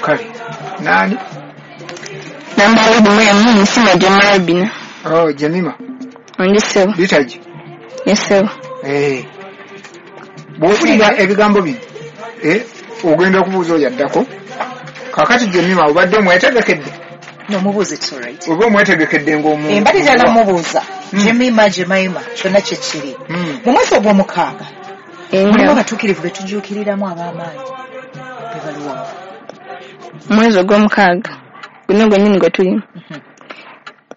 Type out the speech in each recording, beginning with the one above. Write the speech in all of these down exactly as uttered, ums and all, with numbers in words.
Kale nani? Nambala bumwe musima Jemima. Oh, Jemima. Ndi ssebo. Litaji. Yes ssebo. Eh. Bw'owulira ebigambo bino, eh, ogenda okubuuza oyo addako. Kaakati Jemima obadde omwetegekedde? No, mubuuze, it's all right. Oba omwetegekedde ng'omuntu. Embadde ddala mubuuza. Jemima, Jemima, kyonna kye kiri. Mu mwezi ogw'omukaaga, mulimu abatuukirivu be tujuukiriramu ab'amaanyi be baluwa. Mwezi ogw'omukaaga guno gwennyini gwe tulimu.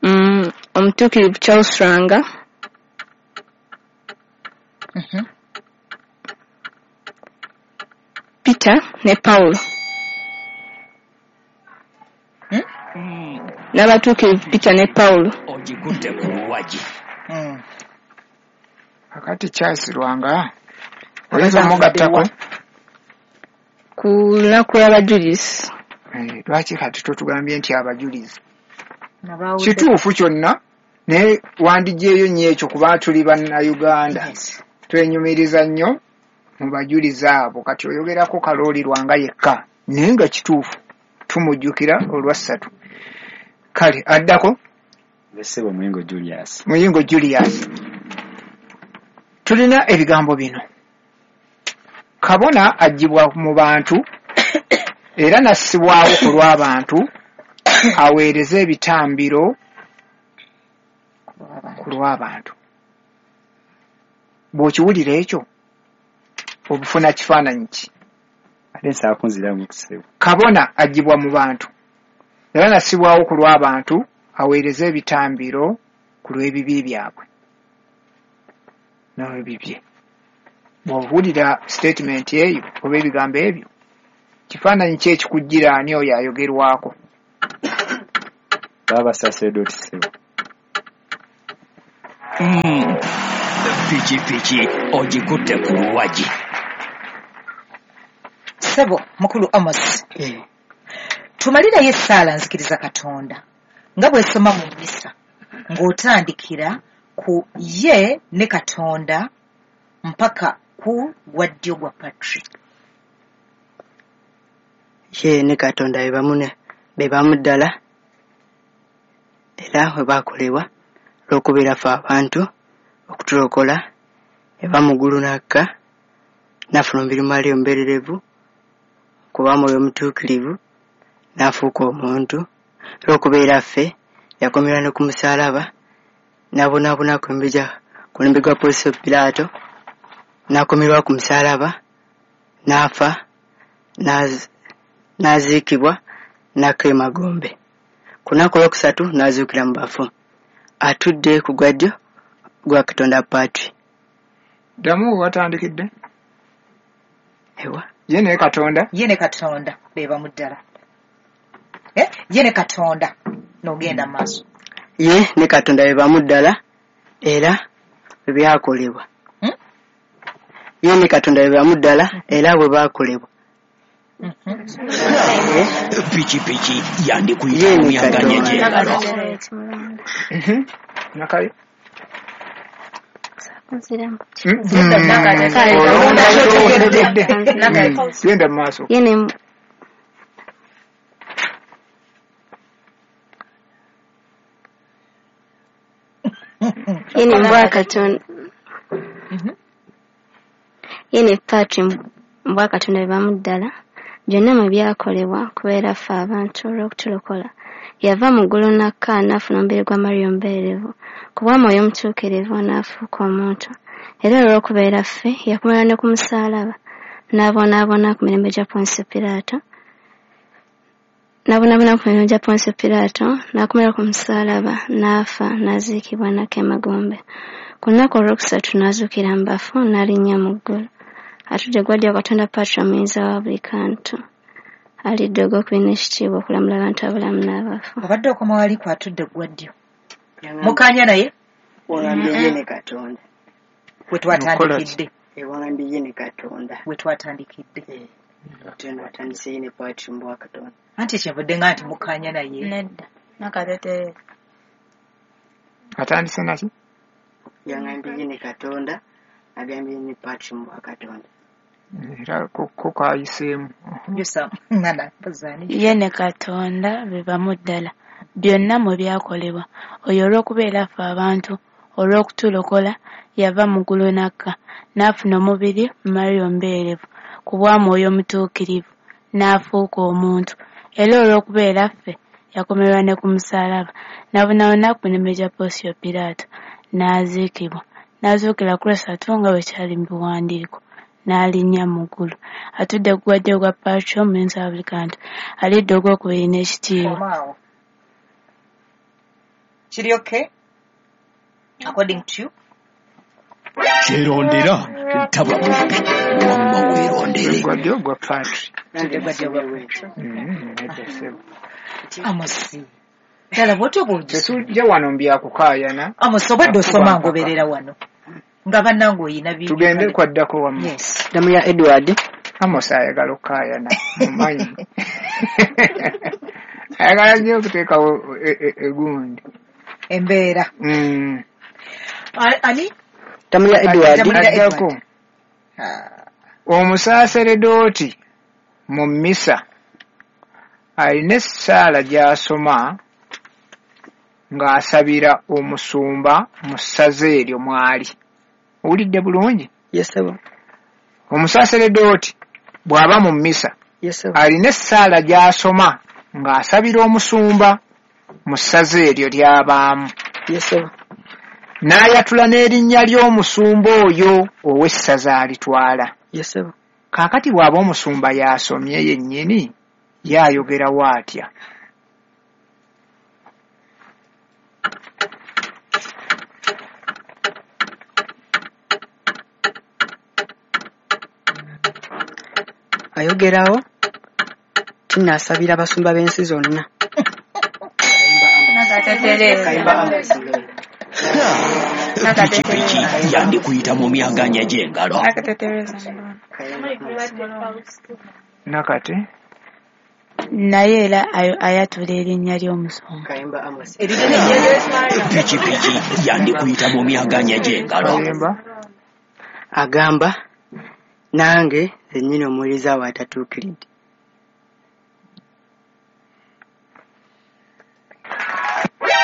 Mm, omutuukirivu Charles Lwanga. Peter ne Paulo. N'abatuukirivu Peter ne Paulo. Ogikutte ku luwagi. Kakati Charles Lwanga oyinza omugattako ku lunaku lw'abajulizi. Lwaki kati totugambye nti abajulizi? Kituufu kyonna, naye wandiggyeyo nnyo ekyo kuba tuli bannayuganda. Twenyumiriza nnyo mu bajulizi abo. Kati oyogerako Kalooli Lwanga yekka, naye nga kituufu tumujjukira olwa ssatu. Kale addako Ssebo Muyingo Julius. Muyingo Julius. Tulina ebigambo bino. Kabona aggyibwa mu bantu era n'assibwawo ku lw'abantu aweereze ebitambiro ku lw'abantu. Bw'okiwulira ekyo obufuna kifaananyi ki? Ate nsaakunziramu ssebo. Kabona aggyibwa mu bantu era n'assibwawo ku lw'abantu aweereze ebitambiro ku lw'ebibi byabwe n'ebibye. Bw'owulira statement eyo oba ebigambo ebyo, kifaananyi ki ekikujjira ani oyo ayogerwako? Baba sacerdote ssebo. Pikipiki ogikutte ku luwagi. Ssebo mukulu Amos. Tumalirayo essaala nzikiriza Katonda nga bw'esoma mu mmisa ng'otandikira ku ye ne Katonda mpaka ku gwa ddyo gwa Patrick. Ye ne Katonda be bamu be bamu ddala era bwe baakolebwa olw'okubeera ffe abantu okutulokola eva mu ggulu n'akka n'afuna omubiri Maria omubeererevu kuba Mwoyo Omutuukirivu n'afuuka omuntu. Olw'okubeera ffe yakomerwa ne ku musaalaba n'abonaabona ku mulembe gwa Ponsiyo Piraato n'akomerwa ku musaalaba n'afa n'aziikibwa n'akka emagombe. Ku lunaku olwokusatu n'azuukira mu bafu. Atudde ku gwa ddyo gwa Katonda Patri. Ddamu we watandikidde. Ewa. Ye ne Katonda. Ye ne Katonda be bamu ddala. Eh? Ye ne Katonda n'ogenda mu maaso. Ye ne Katonda be bamu ddala era bwe byakolebwa. Ye ne Katonda be bamu ddala era bwe baakolebwa. Pikipiki yandikuyita mu myanganya gy'engalo. Nakayo. Genda mu maaso. Ye ne Ye ne mbwa Katonda. Ye ne Patri mbwa Katonda be bamu ddala byonna mwe byakolebwa kubeera ffe abantu olw'okutulokola. Yava mu ggulu n'akka n'afuna omubiri gwa Maria omubeererevu ku bwa Mwoyo Omutuukirivu n'afuuka omuntu. Era olw'okubeera ffe yakomerwa ne ku musaalaba n'abonaabona ku mirembe gya Ponsiyo Piraato n'abonaabona ku mirembe gya Ponsiyo Piraato n'akomerwa ku musaalaba n'afa n'aziikibwa n'akka emagombe. Ku lunaku olwokusatu n'azuukira mu bafu n'alinnya mu ggulu. Atudde gwa ddyo Katonda Patri omuyinza wa buli kantu. Alidde ogw'okubiri n'ekitiibwa okulamula abantu abalamu n'abafu. Obadde okoma wali ku atudde gwa ddyo. Mukkaanya naye? Wangambye ye ne Katonda. We twatandikidde. Wangambye ye ne Katonda. We twatandikidde. Katonda watandise ye ne Patri mbwa Katonda. Anti kyenvudde nga nti mukkaanya naye. Nedda. Nakatete. Atandise naki? Yangambye ye ne Katonda, agambye ye ne Patri mbwa Katonda. Era ko kayiseemu. Ye ne Katonda be bamu ddala, byonna mwe byakolebwa. Oyo olw'okubeera ffe abantu, olw'okutulokola, yava mu ggulu n'akka, n'afuna omubiri mu Maria Omubeerevu, ku bwa Mwoyo Omutuukirivu, n'afuuka omuntu. Era olw'okubeera ffe, yakomererwa ne ku musaalaba, n'abonaabona ku mirembe gya Ponsiyo Piraato, n'aziikibwa, n'azuukira ku lwasatu nga bwe kyali mu biwandiiko, n'alinnya mu ggulu. Atudde ku gwa ddyo ogwa Patri Omuyinza wa buli kantu, alidde ogwokubiri n'ekitiibwa. Kiri okay? According to you? Kyerondera taba mubbi, wamma weerondere. Gwa ddyo ogwa Patri. Amosi. Ddala bw'otyo bw'ogisoma. Tetujja wano mbyakukaayana. Amosi obwedda osoma ngoberera wano. Nga bannange oyina bingi. Tugende kwaddako wamma. Yes. Ddamu ya Edward. Amosi ayagala okukaayana, mumanyi. Ayagala nnyo okuteekawo egundi. Embeera. Ani? Ddamu ya Edward. Addako. Omusaaseredooti mu mmisa alina essaala gy'asoma ng'asabira omusumba mu ssaza eryo mw'ali. Owulidde bulungi? Yes, sir. Omusaaseredooti bw'aba mu mmisa Yes, sir. alina essaala gy'asoma ng'asabira omusumba mu ssaza eryo ly'abaamu. Yes, sir. N'ayatula n'erinnya ly'omusumba oyo ow'essaza alitwala. Yes, sir. Kaakati bw'aba omusumba y'asomye yennyini, ye ayogerawo atya? Ayogerawo tinaasabira abasumba b'ensi zonna. Pikipiki yandikuyita mu myaganya gy'engalo. Nakate. Naye era ayatula erinnya ly'omusumba. Pikipiki yandikuyita mu myaganya gy'engalo. Agamba nange nnyini omuweereza we atatuukiridde.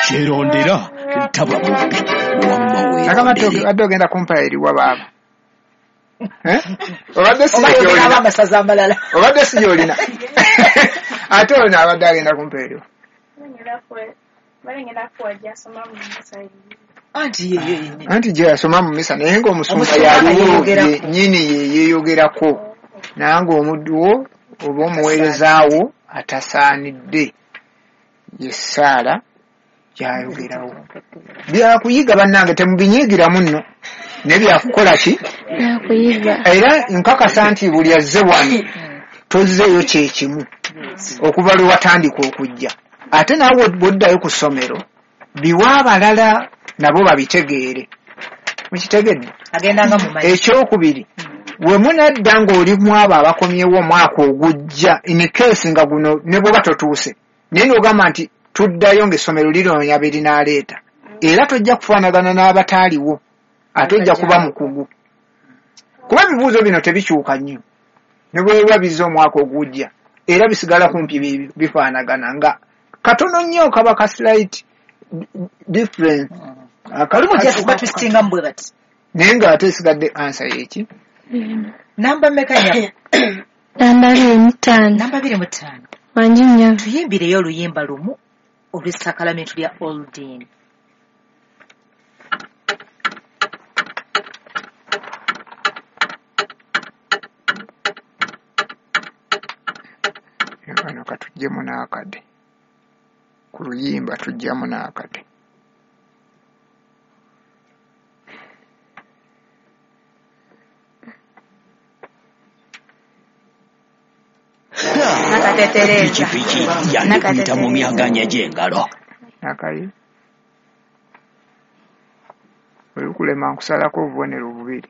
Kyerondera taba mubbi, wamma weerondere. Adde ogenda kumpa eriwa baaba. Obadde si gy'olina. Amasaza amalala. Obadde si gy'olina. Ate ono abadde agenda kumpa eriwa. Anti ye yennyini. Anti gye yasoma mu mmisa naye ng'omusumba yaliwo yennyini ye yeeyogerako. Nange omuddu wo oba omuweereza wo atasaanidde ye ssaala gy'ayogerawo. Byakuyiga bannange temubinyiigiramu nno. Naye byakukola ki? Byakuyiga. Era nkakasa nti buli azze wano tozzeeyo kye kimu okuva lwe watandika okujja. Ate naawe bw'oddayo ku ssomero biwa abalala nabo babitegeere. Mukitegedde? Agendanga mu mazzi. Ekyokubiri, we munadda ng'oli mu abo abakomyewo omwaka ogujja in case nga guno ne bw'oba totuuse naye n'ogamba nti tuddayo ng'essomero liroonya be linaaleeta, era tojja kufaanagana n'abataaliwo, ate ojja kuba mukugu. Kuba ebibuuzo bino tebikyuka nnyo, ne bwe biba bizze omwaka ogujja era bisigala kumpi bifaanagana nga katono nnyo kaba ka slight difference. Olumu just batwistingamu bwe bati. Naye ng'ate esigadde ansa y'eki? Namba mmeka nnyabo? Namba abiri mu ttaano. Namba abiri mu ttaano. Wangi nnyabo. Tuyimbireyo oluyimba lumu olw'essakalamentu lya Oldin. Kano katuggyemu n'akade. Ku luyimba tujjamu n'akade. Pikipiki yandikuyita mu myaganya gy'engalo. Nakayi. Olukulema nkusalako obubonero bubiri.